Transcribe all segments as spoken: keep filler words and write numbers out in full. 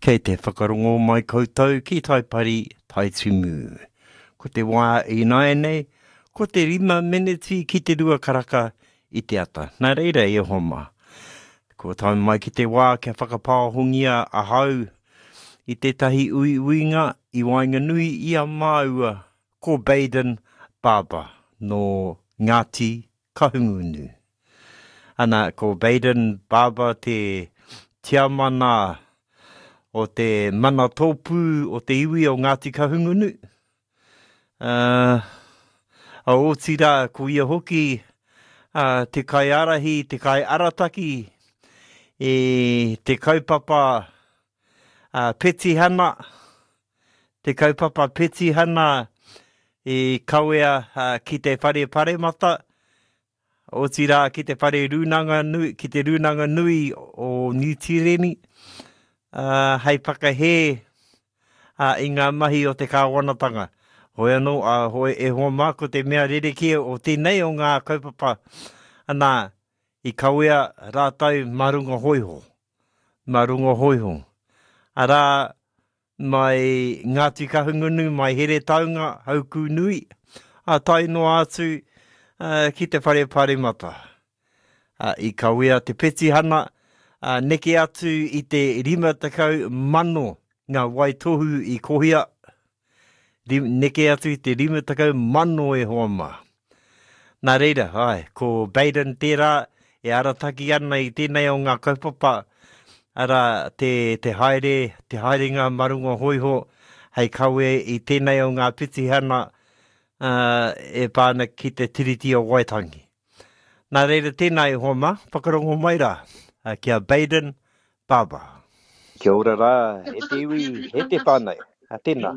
Kei te whakarongo mai koutou ki Taipari, Taitimu. Ko te wā ināianei, ko te rima meneti ki te rua karaka i te ata. Nā reira e hoa mā, kua tae mai ki te wā kia whakapāhongia ahau i tētahi uiuinga i waenganui i a māua ko Bayden Barber nō Ngāti Kahungunu. Ana, ko Bayden Barber te tiamana o te mana tōpū o te iwi o Ngāti Kahungunu. Uh, a otirā, ko ia hoki uh, te kaiārahi, te kaiarataki i te kaupapa uh, petihana, te kaupapa petihana i kawea uh, ki te whare paremata, otirā ki te whare rūnanga nui, ki te rūnanga nui o Niu Tīreni, uh, hei whakahē uh, i ngā mahi o te kāwanatanga. Hoi anō, uh, hoi e hoa mā, ko te mea rerekē o tēnei o ngā kaupapa, ana, i kawea rātou mā runga hōiho, mā runga hōiho. Arā, mai Ngāti Kahungunu, mai Heretaunga, Haukūnui, ā, tae noa atu uh, ki te whare paremata. Uh, i kawea te petihana, uh, neke atu i te rima tekau mano ngā waitohu i kohia, neke atu i te rima tekau mano e hoa mā. Nā reira, ai, ko Bayden tērā e arataki ana i tēnei o ngā kaupapa, arā, te, te haere, te haerenga mā runga hōiho hei kawe i tēnei o ngā petihana uh, e pā ana ki te Tiriti o Waitangi. Nā reira tēnā e hoa mā, whakarongo mai rā, uh, ki a Bayden Barber. Kia ora rā, e te iwi, e te whānau. A tēnā,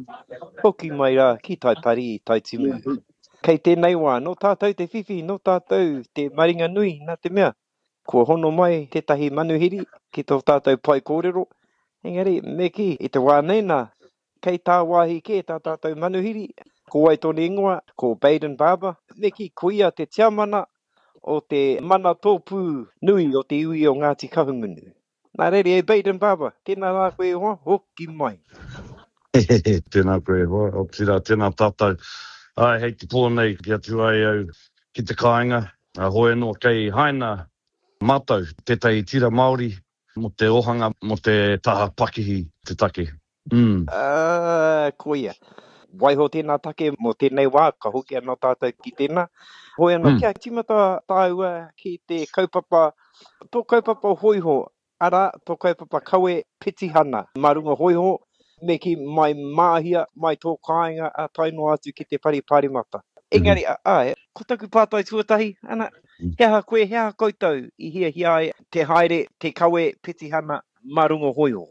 hoki mai rā ki Taipari, Taitimu. Kei tēnei wā, nō tātou te whiwhi, nō tātou te maringa nui, nā te mea, kua hono mai tētahi manuhiri ki tō tātou pae kōrero, engari, me kī, i te wā nei nā, kei tāwāhi kē tā tātou manuhiri, ko wai tōna ingoa, ko Bayden Barber, me kī, ko ia te tiamana o te mana tōpū nui o te iwi o Ngāti Kahungunu. Nā reira, e Bayden Barber, tēnā rā koe e hoa, hoki mai. Tēnā koe e hoa, otirā, tēnā tātou. Ai, hei te pō nei ki atu ai au ki te kāinga, hoi anō kei haina mātou tētahi tira Māori mō te ohanga, mō te taha pakihi te take. Mm. Uh, koia. Waiho tēnā take mō tēnei wā, ka hoki anō tātou ki tēnā. Hoi anō, mm. kia tīmata tāua ki te kaupapa, tō kaupapa hōiho, arā, tō kaupapa kawe petihana mā runga hōiho, me kī mai Māhia, mai tō kāinga, a tae noa atu ki te whare paremata. Engari, mm. āe, ko taku pātai tuatahi, ana, he aha koe, he aha koutou i hiahia ai te haere, te kawe petihana mā runga hōiho?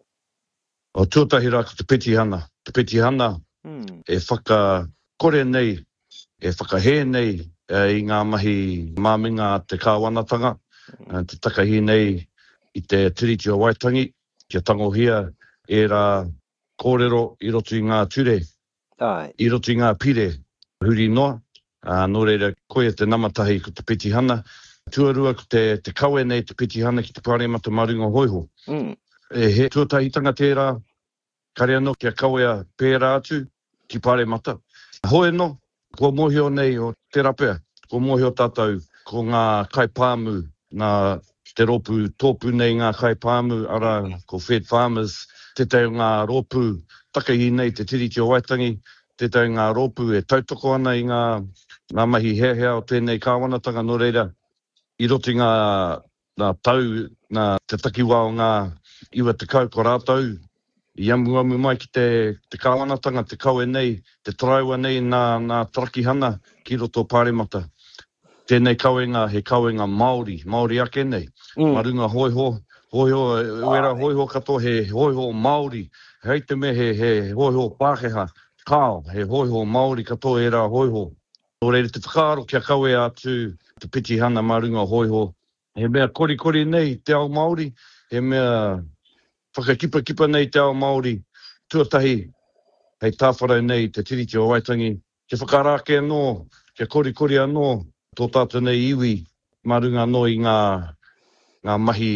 O tuatahi rā ko te petihana, te petihana mm. e whakakore nei, e whakahē nei i ngā mahi māminga a te kāwanatanga, mm. te takahi nei i te Tiriti o Waitangi, kia tangohia ērā kōrero i roto i ngā ture, Ai. i roto i ngā pire huri noa. Ā, nō reira, koia te nama tahi ko te petihana. Tuarua ko te, te kawe nei te petihana ki te Pāremata mā runga hōiho. Mm. E, he tuatahitanga tērā, kare anō kia kawea pērā atu ki Pāremata. Hoi anō, kua mōhio nei o tērā pea, kua mōhio tātou ko ngā kaipāmu, nā te rōpū tōpū nei ngā kaipāmu, arā, ko Fed Farmers, tētahi o ngā rōpū takahi nei te Tiriti o Waitangi, tētahi o ngā rōpū e tautoko ana i ngā, ngā mahi heahea o tēnei kāwanatanga, nō reira, i roto i ngā, ngā tau, ngā, te takiwā o ngā iwa tekau ko rātou i amuamu mai ki te, te kāwanatanga, te kawe nei, te taraiwa nei nā, nā tarakihana ki roto o Pāremata. Tēnei kawenga he kawenga Māori, Māori ake nei. Mm. Mā runga hōiho, hōiho, wera hōiho katoa he hōiho Māori, hei te mea he, he hōiho Pākehā, kāo, he hōiho Māori katoa ērā hōiho. Nō reira te whakaaro kia kawea atu te petihana mā runga hōiho. He mea korikori nei te ao Māori, he mea whakakipakipa nei te ao Māori, tuatahi hei tāwharau nei te Tiriti o Waitangi, kia whakarākei anō, kia korikori anō tō tātou nei iwi mā runga anō i ngā, ngā mahi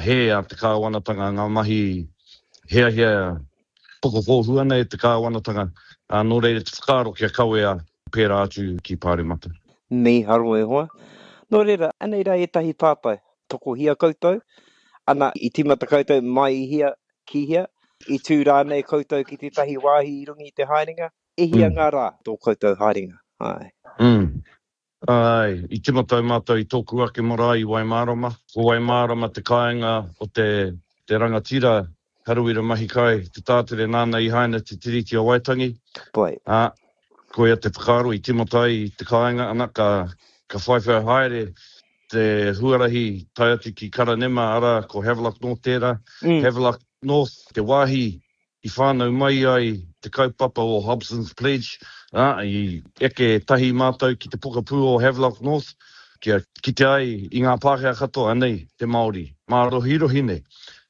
hē a te kāwanatanga, ngā mahi Hiahia pokokōhua nei te kāwanatanga, ā, nō reira te whakaaro kia kawea pērā atu ki Pāremata. Mīharo e hoa. Nō reira, anei rā ētahi pātai. Tokohia koutou? Ana, i tīmata koutou mai i hea ki hea? I tū rānei koutou ki tētahi wāhi i runga i te haerenga? E hia Mm. ngā rā tō koutou haerenga? Āe. Mm. Āe, i tīmata ai mātou i tōku ake marae i Waimārama. Ko Waimārama te kāinga o te, te rangatira Harawira Mahikai, te tātere nāna i haina te Tiriti o Waitangi. Ka pai. Ā, koia te whakaaro i tīmata ai i te kāinga, ana, ka, ka whaiwhai haere te huarahi tae atu ki Karanema, arā, ko Havelock North tērā. Mm. Havelock North, te wāhi i whānau mai ai te kaupapa o Hobson's Pledge, ā, i eke tahi mātou ki te pokapū o Havelock North, kia kite ai i ngā Pākehā katoa, anei te Māori, mārohirohi nei.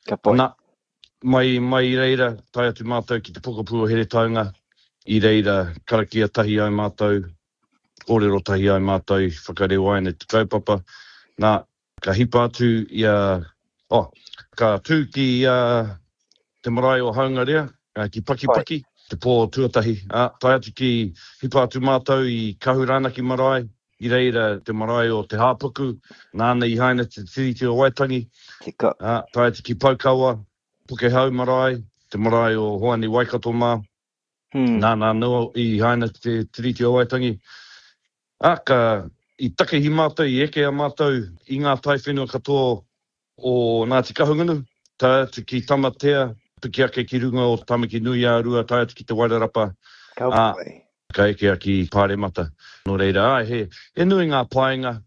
Ka pai. Nā, mai, mai i reira, tae atu mātou ki te pokapū o Heretaunga, i reira karakia tahi ai mātou, kōrero tahi ai mātou, whakarewaina te kaupapa. Nā, ka hipa atu i a, oh, ka tū ki a te marae o Haungarea, ki Pakipaki, te pō tuatahi. Ā, tae atu ki hipa atu mātou i Kahuranaki marae, i reira te marae o Te Hāpuku, nāna i haina te Tiriti o Waitangi. Tika. Ā, tae atu ki Poukawa, Pukehau marae, te marae o Hoani Waikato mā, Hmm. nāna anō i haina te Tiriti o Waitangi. Ā, ka, i takihi mātou, i eke a mātou i ngā taiwhenua katoa o Ngāti Kahungunu, tae atu ki Tamatea, piki ake ki runga o Tamaki nui-ā-Rua, tae atu ki Te Wairarapa, Ka ā, pai. ka ekea ki Pāremata. Nō reira, āe, he, he nui ngā painga,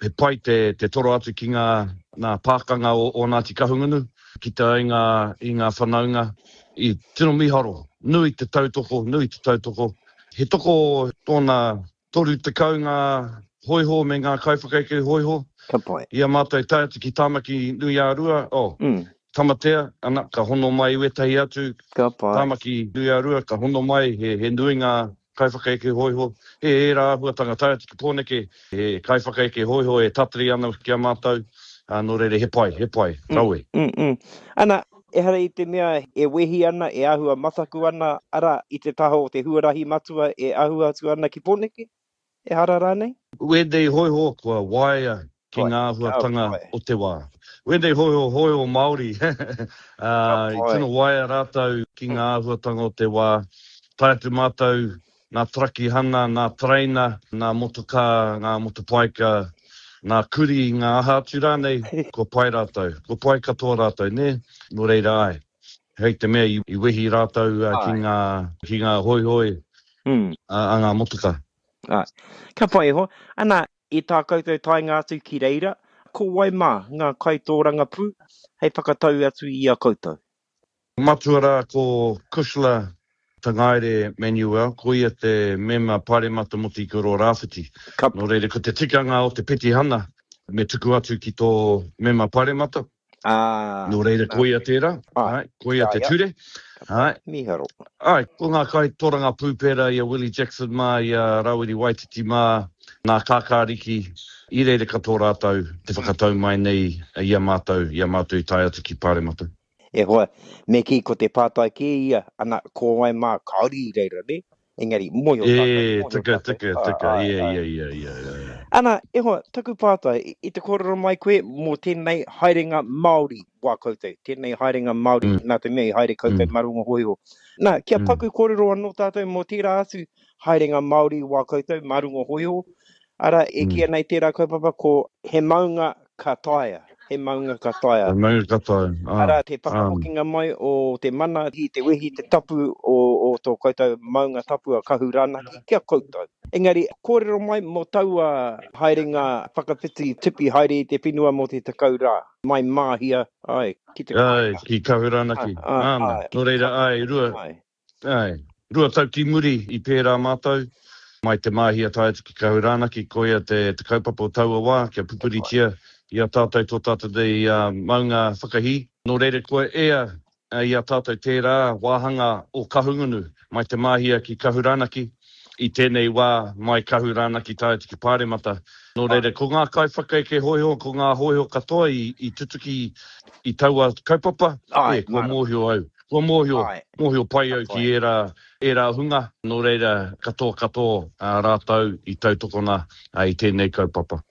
he pai te, te toro atu ki ngā, ngā pākanga o, o Ngāti Kahungunu, kite ai ngā, i ngā whanaunga, i tino mīharo, nui te tautoko, nui te tautoko. He toko tōna toru tekau ngā hōiho me ngā kaiwhakaeke hōiho. Ka pai. I a mātou tae atu ki Tāmaki nui-ā-Rua, oh, Mm. Tamatea, ana, ka hono mai wētahi atu, Ka pai. Tāmaki nui-ā-Rua, ka hono mai, he, he nui ngā kaiwhakaeke hōiho. He ērā āhuatanga tae atu ki Pōneke, he kaiwhakaeke hōiho e tatari ana ki a mātou, ā, nō reira he pai, he pai, Mm, rawe. mm, mm. Ana, ehara i te mea e wehi ana, e āhua mataku ana, arā, i te taha o te huarahi matua e ahu atu ana ki Pōneke? Ehara rānei? Wēnei hōiho kua waea ki Pai, ngā ka āhuatanga pai. o te wā. Wēnei hōiho, hōiho Māori, Ka ā, i pai. tino waea rātou ki ngā āhuatanga o te wā. Tae atu mātou ngā tarakihana, ngā tereina, ngā motokā, ngā motopaika, ngā kurī, ngā aha atu rānei, kua pai rātou, kua pai katoa rātou, nē? Nō reira, āe, hei te mea i, i wehi rātou uh, ki Āe. ngā, ki ngā hoihoi Mm. a, a ngā motoka. Āe. Ka pai e hoa. Ana, i tā koutou taenga atu ki reira, ko wai mā ngā kaitōrangapū hei whakatau atu i a koutou? Matua rā ko Cushla Tangaere Manuel, ko ia te mema Pāremata mō te Ikaroa Rāwhiti. Ka Nō reira, ko te tikanga o te petihana me tuku atu ki tō mema Pāremata. Ah, Nō reira, nā. ko ia tērā, Āe, āe, ko ia kia te ia. ture. Ka pai. Āe. Mīharo. Āe, ko ngā kaitōrangapū pērā i a Willie Jackson mā, i a Rawiri Waititi mā, nā Kākāriki, i reira katoa rātou te whakatau mai nei i a mātou, i a mātou i tae atu ki Pāremata. E hoa, me kī ko te pātai kē ia, ana, ko wai mā kāore i reira, nē? Engari, mōhio tātou, E, mōhio tika, tātou. tika, Āe, tika, āe, ia, āe. ia, ia, ia, ia. Ana, e hoa, taku pātai, i, i te kōrero mai koe mō tēnei haerenga Māori wā koutou, tēnei haerenga Māori, Mm. nā te mea i haere koutou Mm. mā runga hōiho. Nā, kia Mm. paku kōrero anō tātou mō tērā atu haerenga Māori wā koutou mā runga hōiho, arā, e Mm. kīia nei tērā kaupapa ko He Maunga Ka Taea, He Maunga Ka Taea. He Maunga Ka Taea, ā, Arā, te ā. whakahokinga mai o te mana, te wehi, te tapu o, o tō koutou maunga tapu a Kahuranaki ki a koutou. Engari, kōrero mai mō taua haerenga whakawhiti tipi haere i te whenua mō te tekau rā, mai Māhia, āe, ki te Āe, kāinga. ki Kahuranaki, Ā, ā, āna. āe, Nō ki reira, āe, rua, Āe. āe, rua tau ki muri i pērā mātou, mai te Māhia tae atu ki Kahuranaki, koia te, te kaupapa o taua wā, kia pupuritia i a tātou tō tātou nei uh, maunga whakahī. Nō reira, kua ea i a tātou tērā wāhanga o Kahungunu, mai te Māhia ki Kahuranaki, i tēnei wā mai Kahuranaki tae atu ki Pāremata. Nō reira, ko ngā kaiwhakaeke hōiho, ko ngā hōiho katoa i, i tutuki i taua kaupapa, Āe, e, kua mārama. mōhio au. Kua mōhio, mōhio pai au ki ērā, ērā hunga, nō reira katoa katoa rātou i tautokona i tēnei kaupapa.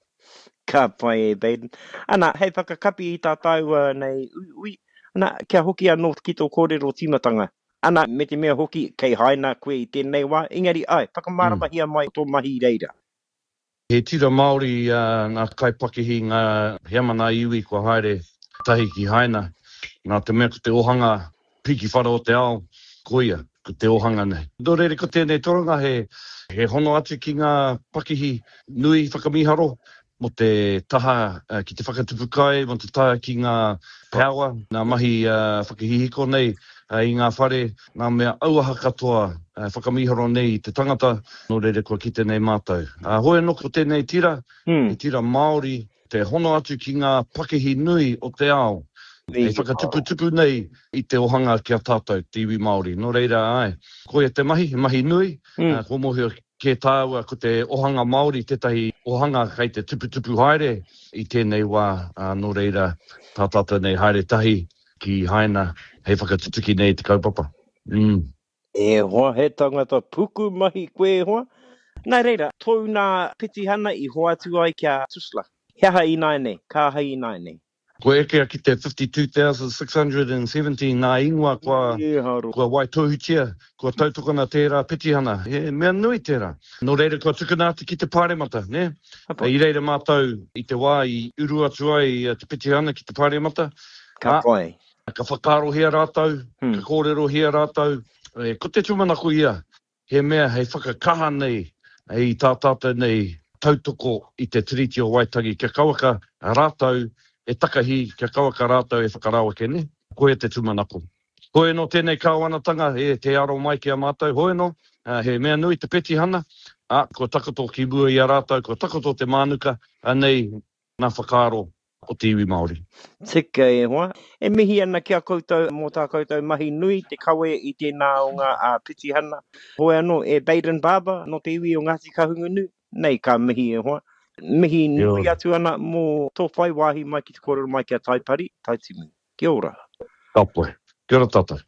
Ka pai e Baden. Ana, hei whakakapi i tā tāua nei uiui, ana, kia hoki anō ki tō kōrero tīmatanga. Ana, me te mea hoki, kei Haina koe i tēnei wā, engari āe, whakamāramahia mai tō mahi i reira. He tira Māori ngā kaipakihi, ngā heamana iwi kua haere tahi ki Haina, nā te mea ko te ohanga piki whara o te ao, koia, ko te ohanga nei. Nō reira ko tēnei toronga he, he hono atu ki ngā pakihi nui whakamīharo mō te taha ki te whakatupu kai, mō te taha ki ngā power, ngā mahi whakahihiko nei i ngā whare, ngā mea auaha katoa whakamīharo nei i te tangata, nō reira kua kite nei mātou. Hoi anō ko tēnei tira, he tira Māori, te hono atu ki ngā pakihi nui o te ao, hei whakatuputupu nei i te ohanga ki a tātou, te iwi Māori. Nō reira, āe, koia te mahi, he mahi nui, kua mōhio kē tāua ko te ohanga Māori tētahi ohanga kei te tuputupu haere i tēnei wā, nō reira, tā tātou nei haere tahi ki Haina hei whakatutuki nei i te kaupapa. Mm. E hoa, he tangata puku mahi koe e hoa. Nā reira, tōu nā petihana i hoatu ai ki a Tusla. He aha ināianei? Ka aha ināianei? Kua ekea ki te fifty two thousand six hundred and seventy ngā ingoa kua, kua waitohutia, kua tautokona tērā petihana. He mea nui tērā. Nō reira kua tukuna atu ki te Pāremata, nē? I reira mātou i te wā i uru atu ai te petihana ki te Pāremata. Ka pai. Ka whakaarohia rātou, ka kōrerohia rātou. Ko te tūmanako ia, he mea hei whakakaha nei i tā tātou nei tautoko i te Tiriti o Waitangi kia kauaka rātou e takahi, kia kauaka rātou e whakaraweke, nē? Koia te tūmanako. Hoi anō tēnei kāwanatanga, e, tē aro mai ki a mātou, hoi anō, he mea nui te petihana, ā, kua takoto ki mua i a rātou, kua takoto te mānuka, anei ngā whakaaro o te iwi Māori. Tika e hoa. E mihi ana ki a koutou mō tā koutou mahi nui te kawe i tēnā o ngā petihana. Hoi anō, e Baden Barber nō te iwi o Ngāti Kahungunu, nei ka mihi e hoa. Mihi nui atu ana mō tō whai wāhi mai ki te kōrero mai ki a Taipari, Taitimu. Kia ora. Ka pai. Kia ora tātou.